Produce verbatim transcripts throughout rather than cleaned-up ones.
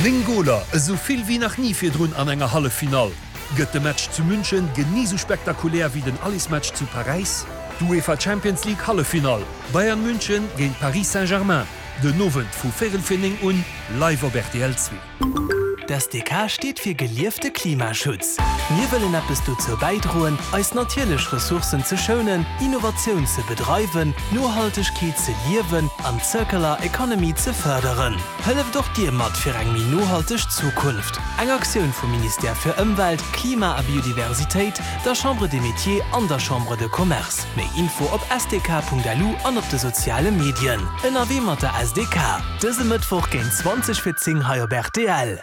Néng Goler, esou vill wéi nach ni virdrun an enger Halleffinall. Gëtt de Match zu München genee sou spektakulär wéi den Allersmatch zu Paräis? D'UEFA Champions League Halleffinall, Bayern München géint Paris Saint-Germain, den Owend vu véierel fir néng un, live op rtl zwee. D'S D K steet fir geliefte Klimaschutz. Mir wëllen eppes dozou bäidroen, eis natierlech Ressourcen ze schounen, Innovatioun ze bedreiwen, Nohaltegkeet ze liewen an d'Circular Economy ze fërderen. Hëlleft och Dir mat fir eng méi nohalteg Zukunft. Eng Aktioun vum Ministère fir Ëmwelt, Klima a Biodiversitéit, der Chambre des Métiers an der Chambre de Commerce. Méi Info op S D K Punkt L U an op de soziale Medien. Ënnerwee mat der S D K. Dëse Mëttwoch géint zwanzeg fir zéng hei op R T L.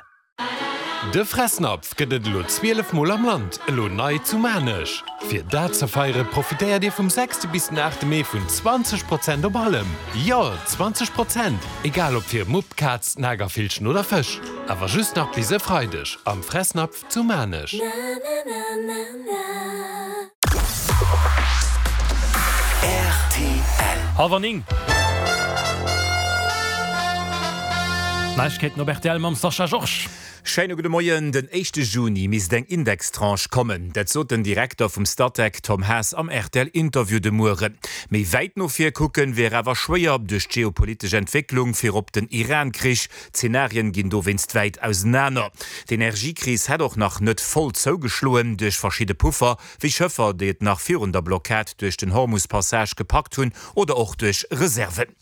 De Fressnapf gëtt et elo zwielef Mol am Land, elo nei zu Maarnech. Fir dat ze feiere profitéiert Dir vum sechste bis den aachte Mee vun zwanzeg Prozent op allem. Jo, zwanzeg Prozent! Egal ob fir Mupp, Kaz, Nagervillchen oder Fësch. Awer just nach bis e Freideg am Fressnapf zu Maarnech. Hallwer néng. Neiegkeeten op R T L mam Sascha Georges. Schéine gudde Moien. Den éischte Juni misst eng Indextranche kommen. Dat sot den Direkter vum Statec Tom Haas am R T L-Interview de Mueren. Méi wäit no vir kucken wier awer schwéier duerch d'geopolitesch Entwécklung, virop den Iran-Krich. D'Zenarien ginn dowéinst wäit ausenaner. D'Energiekris hätt och nach net voll zougeschloen duerch verschidde Puffer, wéi Schëffer, déi et nach virun der Blockad duerch den Hormus-Passage gepackt hunn oder och duerch Reserven.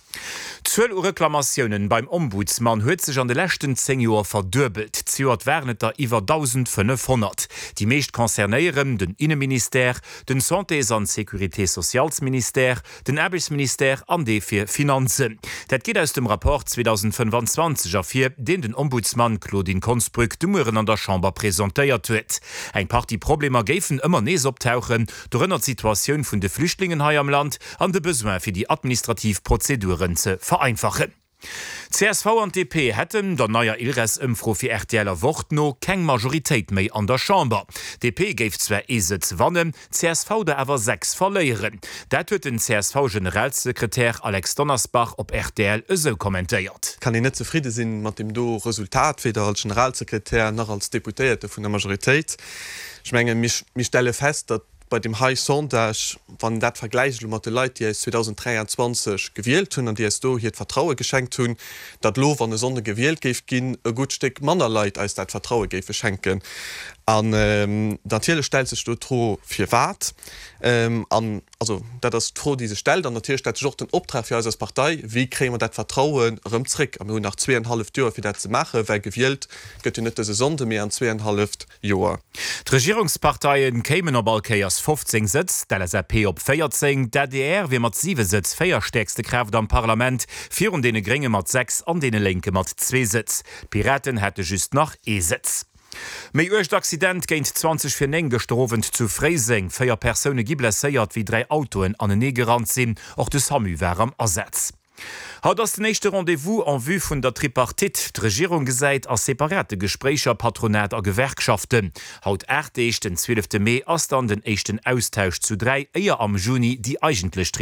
D'Zuel u Reklamatiounen beim Ombudsman huet sech an de leschten zéng Joer verduebelt. Zejoert waren et der iwwer dausendfënnefhonnert. Déi meescht concernéieren den Inneministère, den Santés an Sécurité-sociales-Ministère, den Aarbechtsministère an dee fir Finanzen. Dat geet aus dem Rapport zweedausendfënnfanzwanzeg ervir, deen den Ombudsman Claudine Konsbrück de Mueren an der Chamber presentéiert huet. Eng Partie Problemer géifen ëmmer nees optauchen, dorënner d'Situatioun vun de Flüchtlingen hei am Land an de Besoin fir déi administrativ Prozeduren ze vereinfachen. C S V an D P hätten der neier ILReS-Ëmfro fir R T L a Wort no keng Majoritéit méi an der Chamber. D P géif zwar ee Sëtz wannen, C S V der awer sechs verléieren. Dat huet den C S V-Generalsekretär Alex Donnersbach op R T L esou kommentéiert. Kann een net zefridde sinn mat deem do Resultat, weder als Generalsekretär nach als Deputéierte vun der Majoritéit. Ech mengen, mir stelle fest, datt bei deem hei Sondage, wann dat vergläicht elo mat de Leit, déi eis zweedausendräianzwanzeg gewielt hunn an déi eis do hiert Vertraue geschenkt hunn, datt elo, wann e Sonnde gewielt géif ginn, e gutt Stéck manner Leit eis dat Vertraue géife schenken. An natierlech stellt sech do d'Fro, firwat. An also dat ass d'Fro, déi sech stellt. An natierlech stellt sech och den Optrag fir eis als Partei, Wéi kréie mer dat Vertrauen erëm zréck? A mir hunn nach zweeanenhalleft Joer, fir dat ze maachen, well gewielt gëtt jo net dëse Sonnde, mee an zweeanenhalleft Joer. D'Regierungsparteie kéimen op all Kéiers fofzéng Sëtz, d'L S A P op véierzéng, d'A D R wier mat siwe Sëtz véierstäerkste Kraaft am Parlament, virun deene Grénge mat sechs an deene Lénke mat zwee Sëtz. D'Piraten hätte just nach ee Sëtz. Méi uergt Accident géint zwanzeg vir néng gëschter Owend zu Fréiseng. Véier Persoune gi blesséiert, wéi dräi Autoen aneneegerannt sinn. Och de SAMU war am Asaz. Haut ass den éischte Rendez-vous en vue vun der Tripartite. D'Regierung gesäit a separate Gespréicher Patronat a Gewerkschaften. Haut aacht Deeg, den zwielefte Mee, ass dann den éischten Austausch zu dräi, éier am Juni déi eigentlech.